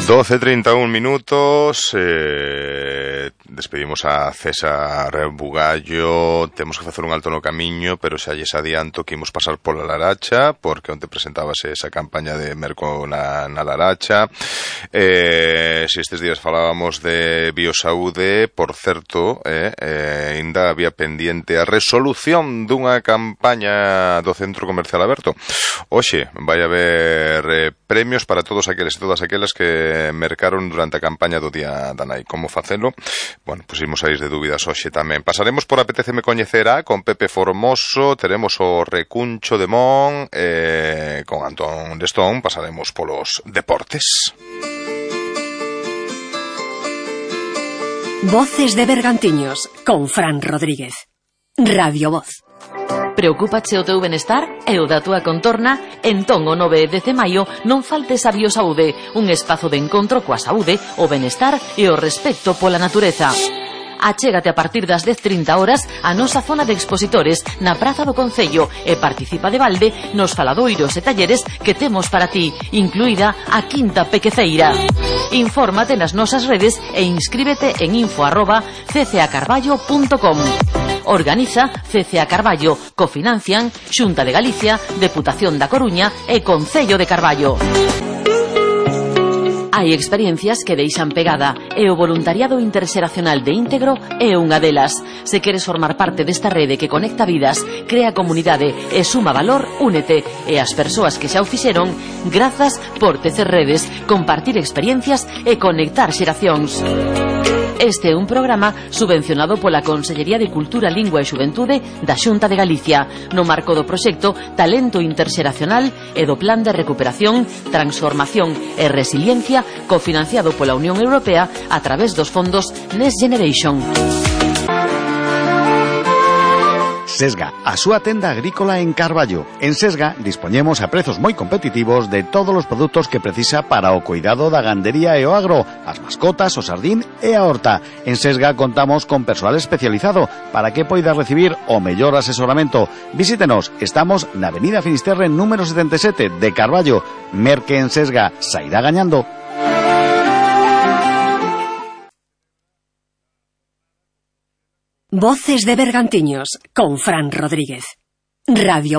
12:31 minutos. Despedimos a César Bugallo. Temos que facer un alto no camiño, pero xa lles adianto que imos pasar pola Laracha, porque onte presentábase esa campaña de Merco na Laracha. Se estes días falábamos de biosaúde, por certo, ainda había pendiente a resolución dunha campaña do Centro Comercial Aberto. Hoxe vai haber premios para todos aqueles e todas aquelas que mercaron durante a campaña do Día da Nai. Como facelo? Bueno, pois imos a ir de dúbidas hoxe tamén. Pasaremos por Apeteceme Coñecerá con Pepe Formoso, teremos o Recuncho de Mon, con Antón Lestón, pasaremos polos deportes. Voces de Bergantiños con Fran Rodríguez. Radio Voz. Preocúpache o teu benestar e o da túa contorna? Entón o 9 de maio non faltes a Biosaúde, un espazo de encontro coa saúde, o benestar e o respecto pola natureza. Achégate a partir das 10:30 horas a nosa zona de expositores na Praza do Concello e participa de balde nos faladoiros e talleres que temos para ti, incluída a Quinta Pequeceira. Infórmate nas nosas redes e inscríbete en info@ccacarballo.com. Organiza CCA Carballo, cofinancian Xunta de Galicia, Deputación da Coruña e Concello de Carballo. Hai experiencias que deixan pegada e o voluntariado interxeracional de Íntegro é unha delas. Se queres formar parte desta rede que conecta vidas, crea comunidade e suma valor, únete. E as persoas que xa o fixeron, grazas por tecer redes, compartir experiencias e conectar xeracións. Este é un programa subvencionado pola Consellería de Cultura, Lingua e Xuventude da Xunta de Galicia, no marco do proxecto Talento Interxeracional e do Plan de Recuperación, Transformación e Resiliencia, cofinanciado pola Unión Europea a través dos fondos Next Generation. Sesga, a súa tenda agrícola en Carballo. En Sesga dispoñemos a prezos moi competitivos de todos os produtos que precisa para o cuidado da gandería e o agro, as mascotas, o sardín e a horta. En Sesga contamos con persoal especializado para que poida recibir o mellor asesoramento. Visítenos, estamos na Avenida Finisterre número 77 de Carballo. Merque en Sesga, sairá gañando. Voces de Bergantiños con Fran Rodríguez. Radio